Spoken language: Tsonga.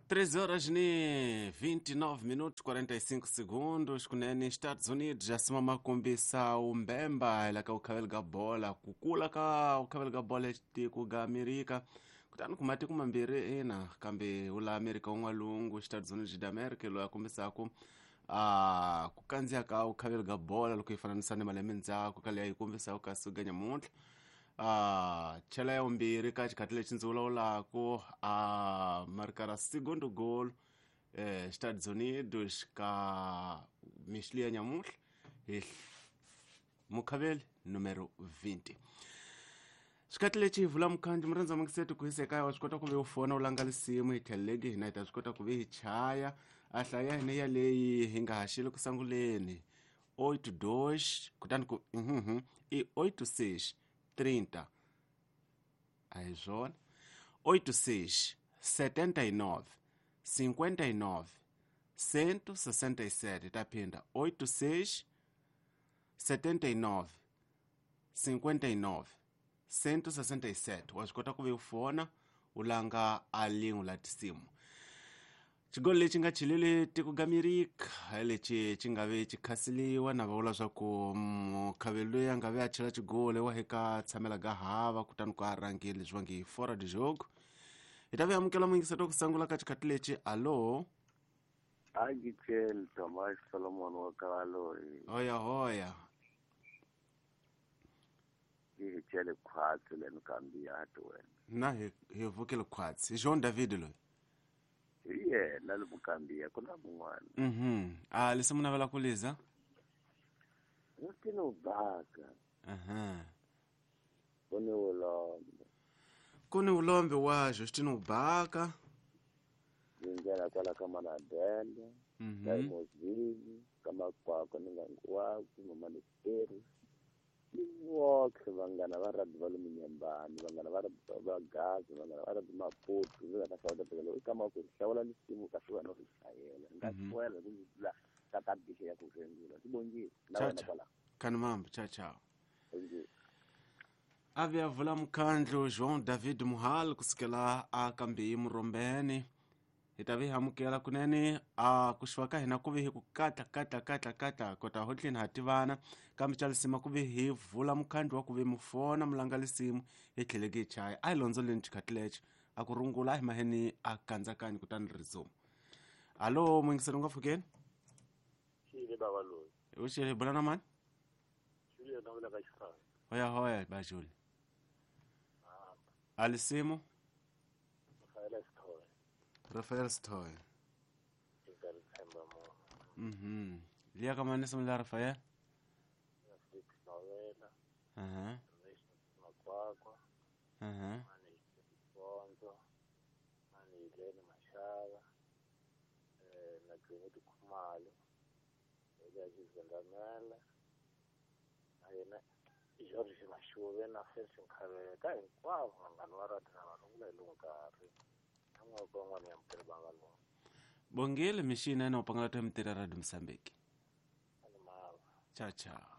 3 horas ni 29 minutos 45 segundos kunene Estados Unidos já sima makombisa umbemba ela ka ukhaveli ka bola kukula ka ukhaveli ka bola tiko ga Amerika kutani ku matiko mambirhi ina kambe ula Amerika un'walungu Estados Unidos da America loyi a kombisaku a ku kandziya ka ukhaveli ka bola loko yi fananisa ni malembe ndzhaku ka leyi yi kombisaka ka suka nyamuntlha a chela ya vumbirhi ka xikhathi lexi ndzi vulavulaku a marikara segundo goal Estados Unidos ka mixili ya nyamuntlha hi mukhaveli numero 20 xikhathi lexi hi vula mukhandlu murhandza mungiseti ku hisa ekaya wa swi kota ku ve u fona u langa lisimu hi tlheleleki hina hi ta swi kota ku ve hi chaya a hlaya hina yaleyi hi nga haxeli ku sanguleni 82 kutani ku i 86 30 a hi swona 86 79 59 167 ta phinda 86 79 59 167 wa swi kota ku ve u fona u langa a lin'we la tisimu xigolo lexi nga chilele tiko ga Amerika lexi xi nga ve xi khasiliwa na va vula swa ku mukhaveli loyi a nga ve a chela xigolo wa eka tshamela ga hava kutani ku a rhangile leswi va nge fora de jogo hi ta ve amukela muyingiseti wa ku sungula ka xikhathi lexi alo Angitsheli Thomas Solomon wa Kaloyi hoya hoya hi tshele khwatsi le Mkambiyati wena na hi vukele khwatsi hi Jean David loyi hi yena le Mkambiya ku na mun'wana a lesi mu navela ku liza Justino Baka aha ku ni vulombe ku ni vulombe wa Justino Baka yi nghena kwala ka Manadele ka Mozili ka Makwakwa ni Nganguwaku Mama Leri ni voxe vanghana va rugby va le Munyembani vanghana va rugby va Gaza vanghana va rugby Maputo ndzi nga ta hlawula phela loko i kama ku hlawula lisimu kahle wena u ri hlayela ni nga hlwela ku la ka ta bixe ya ku rhengula swi bongile na Cha wena cha. kwala Khani mambo cha chao bongile a vuya vula mukhandlu Jean David Muhal kusukela a kambe murombeni hi ta vi amukela kunene a ku xiwa ka hina ku ve hi ku katla katla katla katla kota hotleni ha tivana kambe xa lisima ku ve hi vula mukhandlu wa ku ve mufona mulanga lisimu hi tlheleke hi chaya a hi londzoleni xikhathi lexo a ku rungula a hi maheni a kandzakanyi kutani rizuma alo muyingiseri u nga pfukeni xile bava loyi u xele hi bula na mani xile na vula ka xifana hoya hoya bajuli a lisimu Rafaela Sithole Rafael Stoy eka ri tshemba munhu liya ka mani simu la Rafael na Felix Mavela aha Makwakwa aha mani Bonzo mani Helene Mashava na Gleneti Khumalo Elias Zendamela na yena George Mashuve na Felix Nkhavele ka hinkwavo vanghana va rati na vanhu vula hi lowu nkarhi na n'wana van'wana ya mukele va nga lowu bongile mixini ene u pangala to mitirha radio Mozambique ani mava ciao ciao.